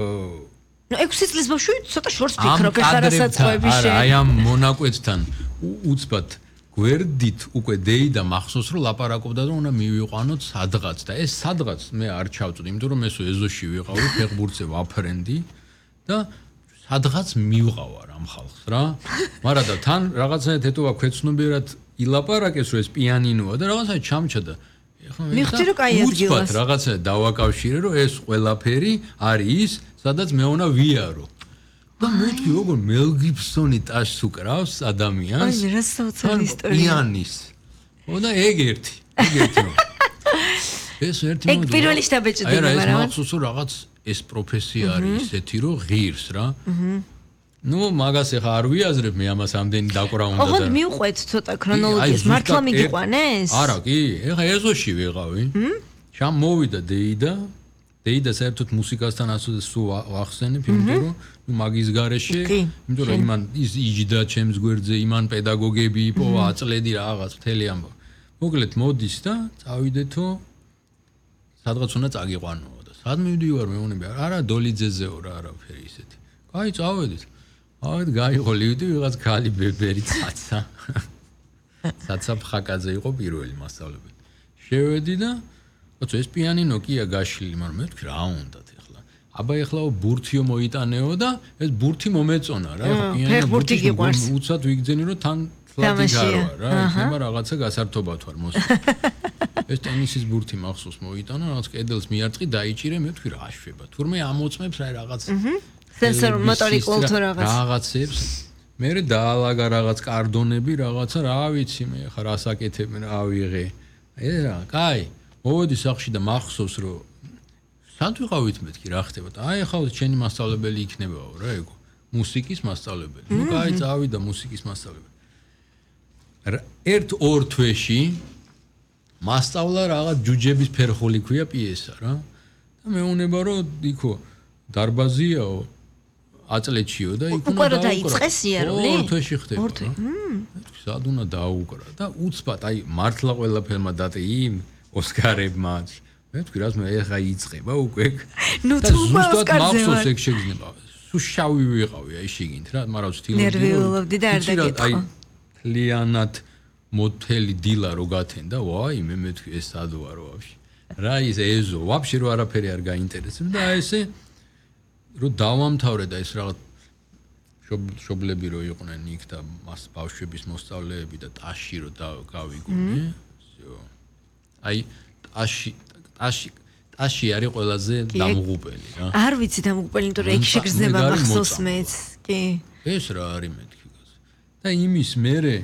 ნუ 6 წლის ბავშვი ცოტა შორს ფიქრობ ეხლა რასაც ყვები შენ. აი ამ მონაკვეთთან უცბად გვერდით უკვე დეიდა მახსოვს რომ ლაპარაკობდა რომ უნდა მივიყვანოთ სადღაც და ეს სადღაც მე არ ჩავწვდი იმიტომ რომ ესო ეზოში ვიყავი ფეხბურთზე ვაფრენდი და სადღაც მივყავარ ამ ხალხს რა მაგრამ და თან რაღაცა ეთოა ქვეცნობიერად ილაპარაკეს რომ ეს პიანინოა და რაღაცა ჩამჩა მიხდი რომ კაი ადგილას უცბად რაღაცა დავაკავშირე რომ ეს ყველაფერი არის ის სადაც მე უნდა ვიარო და მეთქი როგორ მელ გიბსონი ტაშს უკრავს ადამიანს აი რა საოცარი ისტორია პიანის და ეგ ერთი ეს ერთი ეგ პირველი შტაბეჭდება მაგრამ ეს მახსოვს რომ რაღაც ეს პროფესია არის ისეთი რომ ღირს რა ნუ მაგას ახლა არ ვიაზრებ მე ამას ამდენი დაკვრა უნდა და ოღონდ მივყვეთ ცოტა ქრონოლოგიას მართლა მიგიყვანეს არა კი ახლა ეზოში ვიყავი შამ მოვიდა დეიდა საერთოდ მუსიკასთან ასოდეს სულ ვახსენებ იმიტომ რომ მაგის გარეშე იმიტომ რომ იმან ის იჯდა ჩემს გვერდზე იმან პედაგოგები იპოვა აწლედი რაღაც მთელი ამბავი მოკლედ მოდის და წავიდეთო სადღაც უნდა წაგიყვანო და სად მივდივარ მეუბნები არა დოლიძეზეო რა არაფერი ისეთი კაი წავედით გაიყოლივდი ვიღაც ქალი ბებერი ცაცა ფხაკაძე იყო პირველი მასწავლებელი შევედი და ოცო ეს პიანინო კია გაშლილი მაგრამ მე ვთქვი რა უნდათ ახლა აბა ახლა ბურთიო მოიტანეო და ეს ბურთი მომეწონა რა პიანინო ბურთი გიყვარს უცად ვიგძენი რომ თან თლათი გარო რა იქნება რაღაცა გასართობად ვარ მოსულ ეს ტენისის ბურთი მახსოვს მოიტანა რაღაც კედელს მიარწყი დაიჭირე მე ვთქვი რა შვება თურმე ამოწმებს რა რაღაც სენსორ მოტორიკულ თუ რაღაცებს მე დაალაგა რაღაც კარდონები რაღაცა რა ვიცი მე ხა რას აკეთებენ რა ავიღე რა კაი მოვედი სახლში და მახსოვს რომ სად ვიყავით მეთქი რა ხდება და აი ახლა ჩემი მასწავლებელი იქნებაო რა ეგო მუსიკის მასწავლებელი ნუ კაი წავიდა მუსიკის მასწავლებელი ერთ-ორ თვეში მასწავლა რაღაც ჯუჯების ფერხული ქვია პიესა რა და მეუნება რომ იქო დარბაზიაო აწლეთშიო და იქ უნდა დაიწყეს იარული ორ თვეში ხდება სად უნდა დაუკრა და უცბად აი მართლა ყველაფერმა დატე იმ ოსკარებმაც მე ვთქვი რას მე ეხა იწყება უკვე ნუ თუ ოსკარზე მახსოვს ეგ შეგრძნება სულ შავი ვიყავი აი შიგნით რა მაგრამ ვთილობდი ნერვიულობდი და არ დაგეთქო ლიანად მոთელი დილა რო გათენდა ვაი მე მეთქვი ეს სად ვარ ვაფშე რა ის ეზო ვაფშე რო არაფერი არ გაინტერესებს და ესე რო დავამთავრე და ეს რაღაც შობლები რო იყვნენ იქ და მას ბავშვების მოსწავლეები და ტაში რო გავიგონე აი ტაში არის ყველაზე დამღუპელი რა არ ვიცი დამღუპელი იმიტომ რომ ეგ შეგრძნება მახსოვს მეც კი ეს რა არის მეთქი და იმის მერე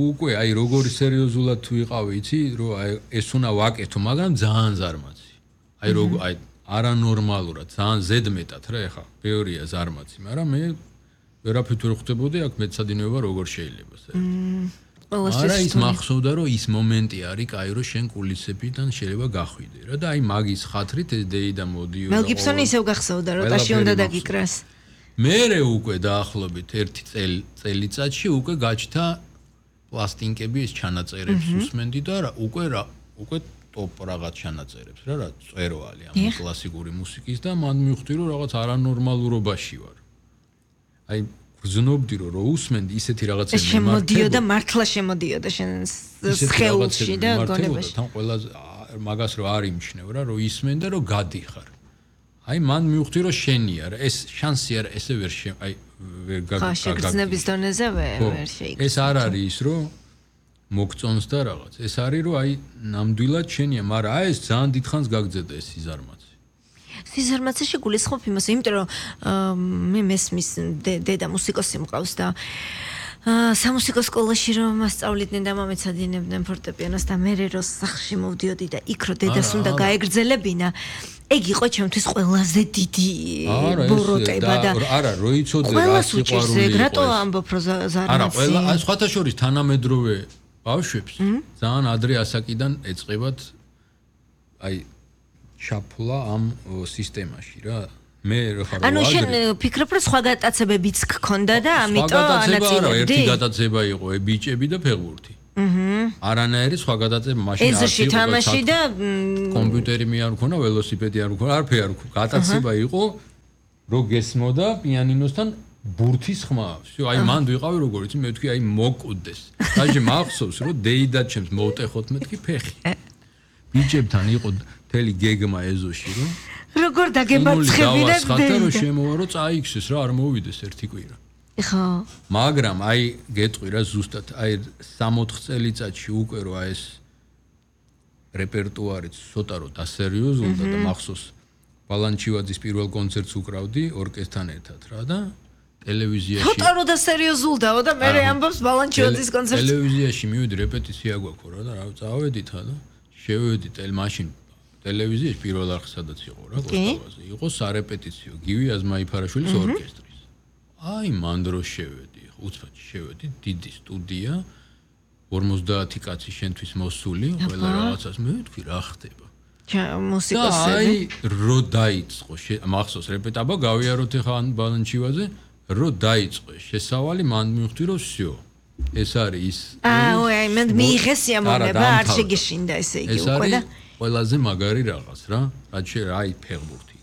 უკვე აი როგორი სერიოზულად თუ იყავი იცი რომ აი ეს უნდა ვაკეთო მაგრამ ძალიან ზარმაცი აი როგორ აი არანორმალურად ძალიან ზედმეტად რა ეხა ბევრია ზარმაცი მაგრამ მე ვერაფრით ვერ ხვდებოდი აქ მეცადინეობა როგორ შეიძლება არა ის მახსოვდა რომ ის მომენტი არის კაი რომ შენ კულისებიდან შეიძლება გახვიდე რა და აი მაგის ხათრით ეს დეიდა მოდიო მელ გიბსონი ისევ გახსოვდა რომ ტაში უნდა დაგიკრას მერე უკვე დაახლოებით ერთი წელიწადში უკვე გაჩნდა პლასტინკები ეს ჩანაწერებს უსმენდი და უკვე ტოპ რაღაც ჩანაწერებს რა წერვალი ამ კლასიკური მუსიკის და მან მივხვდი რომ რაღაც არანორმალურობაში ვარ აი გრძნობდი რომ უსმენდი ისეთი რაღაცები შემოდიოდა მართლა შემოდიოდა შენ სხეულში და გონებაში თან ყველაზე მაგას რო არ იმჩნევ რა რომ ისმენ და რომ გადიხარ აი მან მივხვდი რომ შენია რა ეს შანსი არა ესე ვერ აი ვერ გაგაგზნების დონეზე ვერ შეიქცე ეს არ არის ის რომ მოგწონს და რაღაც ეს არის რომ აი ნამდვილად შენია მაგრამ აი ეს ძალიან დიდხანს გაგძედა ეს სიზარმაცეში გულისხმობ იმას იმიტომ რომ მე მესმის დედა მუსიკოსი მყავს და სამუსიკო სკოლაში რომ მასწავლიდნენ და მომეცადინებდნენ ფორტეპიანოს და მე რო სახლში მოვდიოდი და იქ რო დედას უნდა გაეგრძელებინა ეგ იყო ჩემთვის ყველაზე დიდი ბოროტება და არა რო იცოდე რა სიყვარული იყო რატო ამბობ რომ ზარმაცი არა ყველა სხვათა შორის თანამედროვე ბავშვებს ძალიან ადრე ასაკიდან ეწყებათ აი ჩაფლა ამ სისტემაში რა მე ხარ ანუ შენ ფიქრობ რომ სხვა გატაცებებიც გქონდა და ამიტომ ანაწილებდი ერთი გატაცება იყო ბიჭები და ფეხბურთი არანაირი სხვა გადაწება მაშინ არ იყო თამაში და კომპიუტერი მე არ მქონა ველოსიპედი არ მქონა არაფერი არ მქონა გადაწება იყო რო გესმოდა პიანინოსთან ბურთის ხმა. всё, აი მანდ ვიყავი როგორ იცი, მე ვთქვი აი მოკვდეს. დაჟე მახსოვს რომ დეიდა ჩემს მოვტეხოთ მეთქი ფეხი. ბიჭებთან იყო მთელი გეგმა ეზოში რომ როგორ დაგემარცხებინე და რომ შემოვა რომ წაიქცეს რა არ მოვიდეს ერთი კვირა. ხო. მაგრამ აი გეტყვი რა ზუსტად აი 3-4 წელიწადში უკვე რო აი ეს რეპერტუარიც ცოტა რო დასერიოზულდა და მახსოვს ბალანჩივაძის პირველ კონცერტს უკრავდი ორკესტრთან ერთად რა და ტელევიზიაში ცოტა რო დასერიოზულდაო და მე ამბობს ბალანჩივაძის კონცერტს ტელევიზიაში მივიდი რეპეტიცია გვაქვს რა და რა წავედით და შევედი მაშინ ტელევიზიაში პირველ არხ სადაც იყო რა კოსტავაზე იყო სარეპეტიციო გივი აზმაიფარაშვილის ორკესტრის აი მანდრო შევედი უცბად შევედი დიდი სტუდია 50 კაცი შენთვის მოსული ყველა რაღაცას მე ვთქვი რა ხდება მუსიკოსები აი რო დაიწყო მახსოვს რეპეტაბა გავიაროთ ახლა ბალანჩივაძე რო დაიწყო შესავალი მან მივხვდი რომ всё ეს არის ის აი მე მიიღეს სიამოვნება არ შეგეშინდა ესე იგი უკვე და ყველაზე მაგარი რაღაც რა რაც აი ფეხბურთი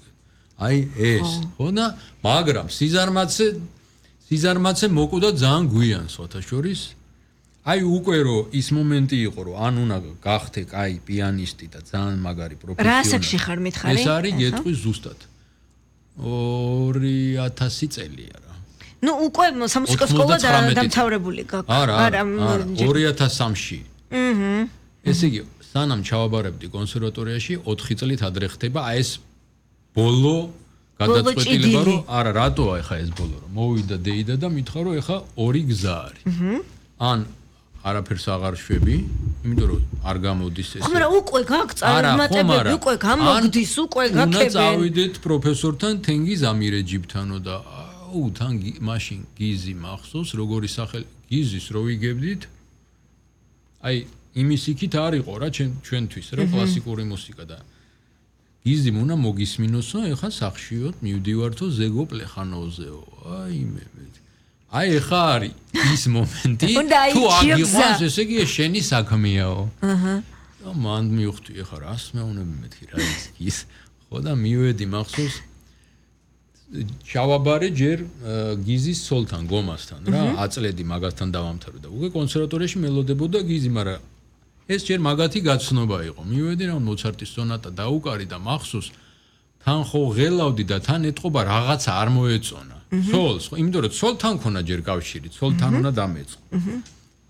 აი ეს ხო და მაგრამ სიზარმაცე მოკვდა ძალიან გვიან სხვათა შორის აი უკვე რომ ის მომენტი იყო რომ ან უნდა გახდე კაი პიანისტი და ძალიან მაგარი პროფესიონალი რა ასაკში ხარ მითხარი ეს არის გეტყვის ზუსტად 2000 წელია რა ნუ უკვე სამუსიკო სკოლა დამთავრებული გაქვს არა 2003-ში ესე იგი სანამ ჩავაბარებდი კონსერვატორიაში 4 წლით ადრე ხდება აი ეს ბოლო გადაწყვეტილება რომ არა რატოა ეხა ეს ბოლო რომ მოვიდა დეიდა და მითხრა რომ ეხა ორი გზა არის ან არაფერს აღარ შვები იმიტომ რომ არ გამოდის ეს ხომ რა უკვე გაქვს წარმატებები უკვე გამოგდის უკვე გაკეთებენ უნდა წავიდეთ პროფესორთან თენგიზ ამირეჯიბთანო და აუ თან მაშინ გიზი მახსოვს როგორი სახელი გიზის რო ვიგებდით აი იმის იქით არ იყო რა ჩვენთვის რა კლასიკური მუსიკა და გიზი უნდა მოგისმინოსო ეხა სახშიოთ მივდივართო ზეგო პლეხანოვზეო აი მე აი ეხა არის ის მომენტი თუ აგიყვანს ესე იგი შენი საქმეაო და მან მივხვდი ეხა რას მეუნები მეთქი რა ის ხო და მივედი მახსოვს ჩავაბარე ჯერ გიზის სოლთან გომასთან რა აწლედი მაგასთან დავამთავრე და უკვე კონსერვატორიაში მელოდებოდა გიზი მაგრამ ეს ჯერ მაგათი გაცნობა იყო მივედი რა მოცარტის სონატა დაუკარი და მახსოვს თან ხო ღელავდი და თან ეთყობა რაღაცა არ მოეწონა ცოლს ხო იმიტომ რომ ცოლთან ქონა ჯერ კავშირი ცოლთან უნდა დამეწყო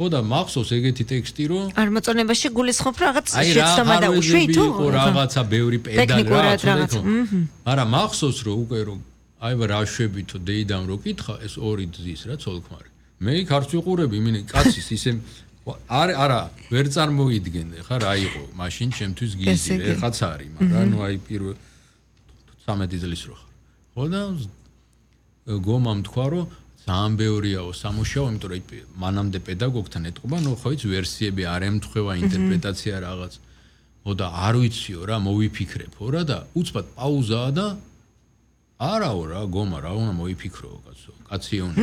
ხო და მახსოვს ეგეთი ტექსტი რომ არ მოწონებაში გულისხმობ რაღაც შეცდომა დაუშვი თუ რაღაცა ბევრი პედალი რაღაც მაგრამ მახსოვს რომ უკვე რომ აი რა შვებითო დეიდამ რო კითხა ეს ორი ძის რა ცოლქმარი მე იქ არც ვიყურები მინე კაცის ისე არა ვერ წარმოიდგენე ხა რა იყო მაშინ ჩემთვის გიზი ეხაც არის მაგრამ ნუ აი პირველ 13 წლის რო ხარ ხო და გომამ თქვა რომ ძალიან ბევრიაო სამუშაო იმიტომ რომ მანამდე პედაგოგთან ეთყობა ნუ ხო იცი ვერსიები არ ემთხვევა ინტერპრეტაცია რაღაც ხო და არ ვიციო რა მოვიფიქრებო რა და უცბად პაუზაა და არაო რა გომა რა უნდა მოიფიქროო კაცო კაცი უნდა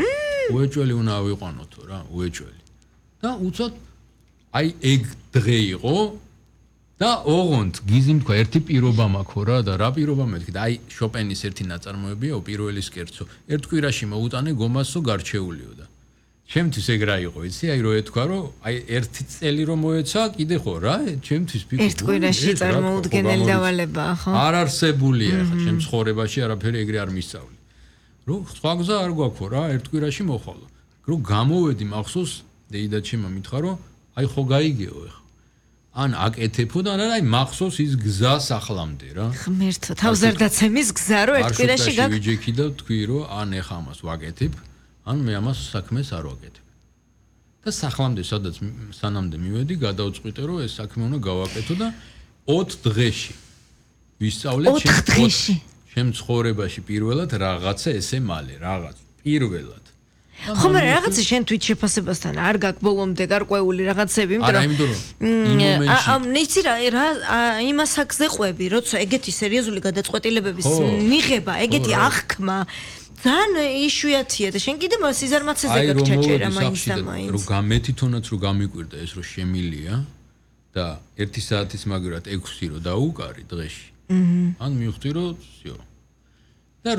უეჭველი უნდა ავიყვანოთო რა უეჭველი და უცბად აი ეგ დღე იყო და ოღონდ გიზიმ თქვა ერთი პირობა მაქვს რა და რა პირობა მეთქი და აი შოპენის ერთი ნაწარმოებია პირველის კერძო ერთ კვირაში მოუტანე გომასო გარჩეულიო და ჩემთვის ეგ რა იყო იცი აი რო ეთქვა რომ აი ერთი წელი რომ მოეცა კიდე ხო რა ჩემთვის ფიქრი ერთ კვირაში წარმოუდგენელი დავალებაა ხო არ არსებულია ხა ჩემ ცხოვრებაში არაფერი ეგრე არ მისწავლი რომ სხვა გზა არ გვაქვს რა ერთ კვირაში მოხვალო რომ გამოვედი მახსოვს დეიდა ჩემმა მითხრა რომ აი ხო გაიგეო ხა ან აკეთებო და აი მახსოვს ის გზა სახლამდე რა ღმერთო თავზარდაცემის გზა რო ერთ კვირაში გაქვს ვიჯექი და თქვი რომ ან ეხა ამას ვაკეთებ ან მე ამას საქმეს არ ვაკეთებ და სახლამდე სადაც სანამდე მივედი გადავწყვიტე რომ ეს საქმე უნდა გავაკეთო და 4 დღეში ვისწავლე ჩემ ცხოვრებაში პირველად რაღაცა ესე მალე რაღაც პირველად ხომ რაღაცა შენ თვით შეფასებასთან არ გაქვს ბოლომდე გარკვეული რაღაცები იმიტომ რომ ნიცი რა იმას აქზე ყვები როცა ეგეთი სერიოზული გადაწყვეტილებების მიღება ეგეთი აღქმა ძალიან იშვიათია და შენ კიდე სიზარმაცეზე გაჩაჭერა მაინც და მაინც რომ გამეთითონაც რომ გამიკვირდა ეს რომ შემილია და 1 საათის მაგრად 6 რო დაუკარი დღეში ან მივხვდი რომ всё და